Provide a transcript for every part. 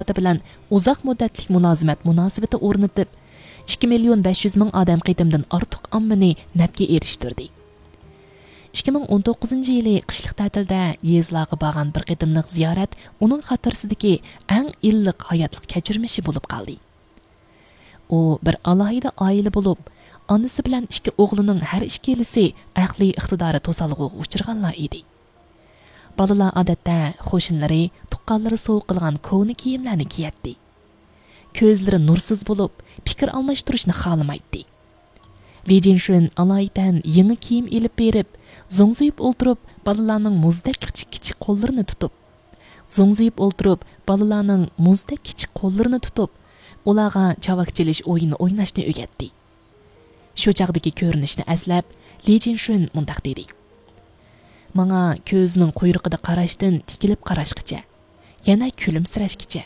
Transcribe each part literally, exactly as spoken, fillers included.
سۈپىتى بىلەن ئۇزاق مۇددەتلىك مۇلازىمەت مۇناسىۋىتى ئورنىتىپ، ئىككى مىليون بەش يۈز مىڭ ئادەم قېتىمدىن ئارتۇق ئاممىنى نەپكە ئېرىشتۈردى. ئىككى مىڭ ئون توققۇزىنچى يىلى قىشلىق تەتىلدە يېزىلارغا بارغان بىر قېتىملىق زىيارەت ئۇنىڭ خاتىرىسىدىكى ئەڭ ئىللىق ھاياتلىق كەچۈرمىشى بولۇپ قالدى. ئۇ بىر ئالاھىدە ئائىلە بولۇپ، ئانىسى بىلەن ئىككى ئوغلىنىڭ ھەر ئىككىلىسى ئەقلىي ئىقتىدارى توسالغۇغا ئۇچرىغانلار ئىدى. بالىلار ئادەتتە قوشنىلىرى، تۇغقانلىرى سوۋغا قىلغان كونا كىيىملەرنى كىيەتتى. كۆزلىرى نۇرسىز بولۇپ، پىكىر ئالماشتۇرۇشنى خالىمايتتى. لى جىنشۈن ئالايىتەن يېڭى كىيىم ئېلىپ بېرىپ، زوڭزىيىپ ئولتۇرۇپ، بالىلارنىڭ مۇزدەك كىچىك كىچىك قوللىرىنى تۇتۇپ، زوڭزىيىپ ئولتۇرۇپ، بالىلارنىڭ مۇزدەك كىچىك قوللىرىنى تۇتۇپ، ئۇلارغا چاۋاك چېلىش ئويۇنى ئويناشنى ئۆگەتتى. شۇ چاغدىكى كۆرۈنۈشنى ئەسلەپ، لى جىنشۈن مۇنداق دېدى: ماڭا كۆزىنىڭ قۇيرۇقىدا قاراشتىن تىكىلىپ قاراشقىچە، يەنە كۈلۈمسىرەشكىچە.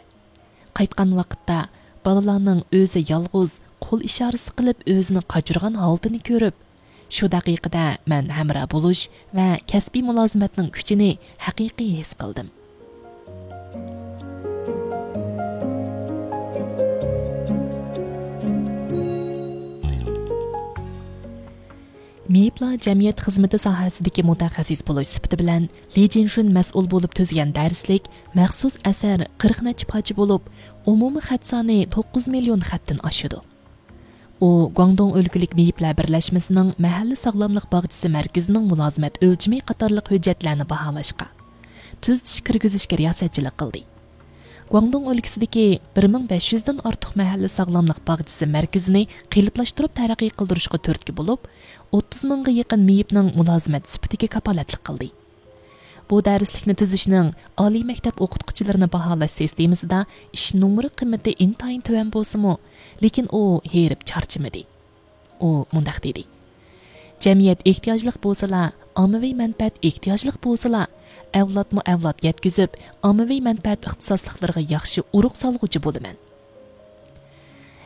قايتقان ۋاقىتتا بالىلارنىڭ ئۆزى يالغۇز قول ئىشارىسى قىلىپ ئۆزىنى قاچۇرغان ھالىتىنى كۆرۈپ، شۇ دەقىقىدە مەن ھەمراھ بولۇش ۋە كەسپىي مۇلازىمەتنىڭ كۈچىنى ھەقىقىي ھېس قىلدىم. مېيىپلار جەمئىيەت خىزمىتى ساھەسىدىكى مۇتەخەسسىس بولۇش سۈپىتى بىلەن، لى جىنشۈن مەسئۇل بولۇپ تۈزگەن دەرسلىك مەخسۇس ئەسەر قىرىق نەچچە پارچە بولۇپ، ئومۇمىي خەت سانى توققۇز مىليون خەتتىن ئاشىدۇ. ئۇ گۇاڭدۇڭ ئۆلكىلىك مېيىپلەر بىرلەشمىسىنىڭ مەھەللە ساغلاملىق باغچىسى مەركىزىنىڭ مۇلازىمەت ئۆلچىمى قاتارلىق ھۆججەتلەرنى باھالاشقا، تۈزىتىش كىرگۈزۈشكە رىياسەتچىلىك قىلدى. گۇاڭدۇڭ ئۆلكىسىدىكى بىر مىڭ بەش يۈزدىن ئارتۇق مەھەللە ساغلاملىق باغچىسى مەركىزىنى قېلىپلاشتۇرۇپ تەرەققىي قىلدۇرۇشقا تۈرتكە بولۇپ، ئوتتۇز مىڭغا يېقىن مېيىپنىڭ مۇلازىمەت سۈپىتىگە كاپالەتلىك قىلدى. بۇ دەرسلىكنى تۈزۈشنىڭ ئالىي مەكتەپ ئوقۇتقۇچىلىرىنى باھالاش سىستېمىسىدا ئىش نومۇرى قىممىتى ئىنتايىن تۆۋەن بولسىمۇ، لېكىن ئۇ ھېرىپ چارچىمىدى. ئۇ مۇنداق دېدى: جەمئىيەت ئېھتىياجلىق بولسىلا، ئاممىۋى مەنپەئەت ئېھتىياجلىق بولسىلا، ئەۋلادمۇ ئەۋلاد يەتكۈزۈپ، ئاممىۋى مەنپەئەت ئىختىساسلىقلىرىغا ياخشى ئۇرۇق سالغۇچى بولىمەن.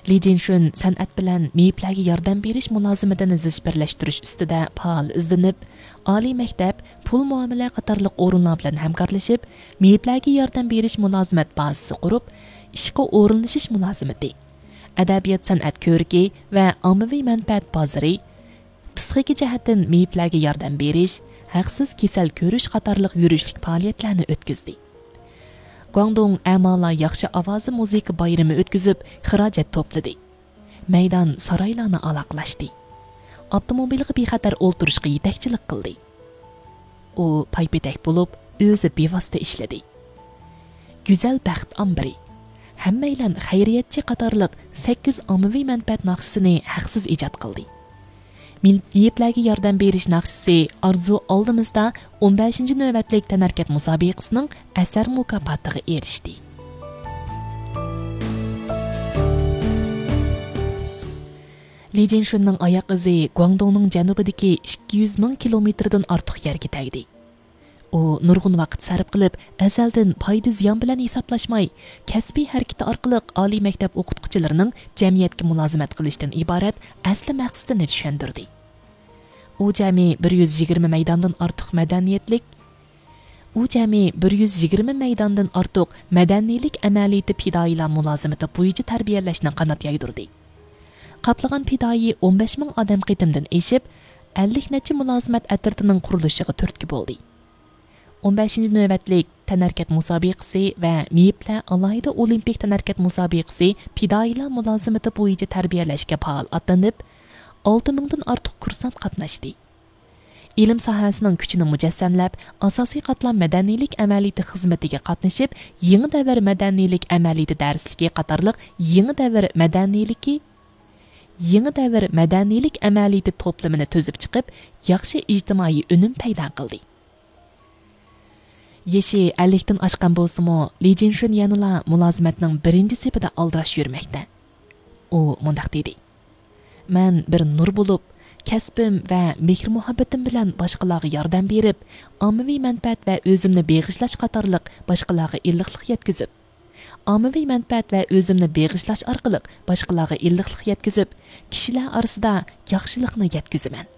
لى جىنشۈن سەنئەت بىلەن مېيىپلەرگە ياردەم بېرىش مۇلازىمىتىنى زىچ بىرلەشتۈرۈش ئۈستىدە پائال ئىزدىنىپ، ئالىي مەكتەپ، پۇل مۇئامىلە قاتارلىق ئورۇنلار بىلەن ھەمكارلىشىپ، مېيىپلەرگە ياردەم بېرىش مۇلازىمەت بازىسى قۇرۇپ، ئىشقا ئورۇنلىشىش مۇلازىمىتى، ئەدەبىيات-سەنئەت كۆرىكى ۋە ئاممىۋى مەنپەئەت بازىرى، پىسخىكا جەھەتتىن مېيىپلەرگە ياردەم بېرىش، ھەقسىز كېسەل كۆرۈش قاتارلىق يۈرۈشلۈك پائالىيەتلەرنى ئۆتكۈزدى. گۇاڭدۇڭ ئەمالار ياخشى ئاۋازى مۇزىكا بايرىمى ئۆتكۈزۈپ، خىراجەت توپلىدى. مەيدان سارايلارنى ئالاقىلاشتى. ئاپتوموبىلغا بىخەتەر ئولتۇرۇشقا يېتەكچىلىك قىلدى. ئۇ پايپېتەك بولۇپ، ئۆزى بىۋاسىتە ئىشلىدى. گۈزەل بەخت ئامبىرى، ھەممەيلەن خەيرىيەتچى قاتارلىق سەككىز ئاممىۋى مەنپەئەت ناخشىسىنى ھەقسىز ئىجاد قىلدى. مېيىپلەرگە ياردەم بېرىش ناخشىسى ئارزۇ ئالدىمىزدا ئون بەشىنچى نۆۋەتلىك تەنھەرىكەت مۇسابىقىسىنىڭ ئەسەر مۇكاپاتىغا ئېرىشتى. لى جىنشۈننىڭ ئاياق ئىزى گۇاڭدۇڭنىڭ جەنۇبىدىكى ئىككى يۈز مىڭ كىلومېتىردىن ئارتۇق يەرگە تەگدى. ئۇ نۇرغۇن ۋاقىت سەرپ قىلىپ، ئەزەلدىن پايدا-زىيان بىلەن ھېسابلاشماي، كەسپىي ھەرىكىتى ئارقىلىق ئالىي مەكتەپ ئوقۇتقۇچىلىرىنىڭ جەمئىيەتكە مۇلازىمەت قىلىشتىن ئىبارەت ئەسلى مەقسىتىنى چۈشەندۈردى. ئۇ جەمئىي بىر يۈز يىگىرمە مەيداندىن ئارتۇق مەدەنىيەتلىك، ئۇ جەمئىي بىر يۈز يىگىرمە مەيداندىن ئارتۇق مەدەنىيلىك ئەمەلىيىتى پىدائىيلار مۇلازىمىتى بويىچە تەربىيەلەشنى قانات يايدۇردى. قاپلىغان پىدائىي ئون بەش مىڭ ئادەم قېتىمدىن ئېشىپ، ئەللىك نەچچە مۇلازىمەت ئەترىتىنىڭ قۇرۇلۇشىغا تۈرتكە بولدى. ئون بەشىنچى نۆۋەتلىك تەنھەرىكەت مۇسابىقىسى ۋە مېيىپلەر ئالاھىدە ئولىمپىك تەنھەرىكەت مۇسابىقىسى پىدائىيلار مۇلازىمىتى بويىچە تەربىيەلەشكە پائال ئاتلىنىپ، ئالتە مىڭدىن ئارتۇق كۇرسانت قاتناشتى. ئىلىم ساھەسىنىڭ كۈچىنى مۇجەسسەملەپ، ئاساسىي قاتلام مەدەنىيلىك ئەمەلىيىتى خىزمىتىگە قاتنىشىپ، يېڭى دەۋر مەدەنىيلىك ئەمەلىيىتى دەرسلىكى قاتارلىق يېڭى دەۋر مەدەنىيلىكى، يېڭى دەۋر مەدەنىيلىك ئەمەلىيىتى توپلىمىنى تۈزۈپ چىقىپ، ياخشى ئىجتىمائىي ئۈنۈم پەيدا قىلدى. يېشى ئەللىكتىن ئاشقان بولسىمۇ، لى جىنشۈن يەنىلا مۇلازىمەتنىڭ بىرىنچى سېپىدە ئالدىراش يۈرمەكتە. ئۇ مۇنداق دېدى: مەن بىر نۇر بولۇپ، كەسپىم ۋە مېھىر-مۇھەببىتىم بىلەن باشقىلارغا ياردەم بېرىپ، ئاممىۋى مەنپەئەت ۋە ئۆزۈمنى بېغىشلاش قاتارلىق باشقىلارغا ئىللىقلىق يەتكۈزۈپ، ئاممىۋى مەنپەئەت ۋە ئۆزۈمنى بېغىشلاش ئارقىلىق باشقىلارغا ئىللىقلىق يەتكۈزۈپ، كىشىلەر ئارىسىدا ياخشىلىقنى يەتكۈزىمەن.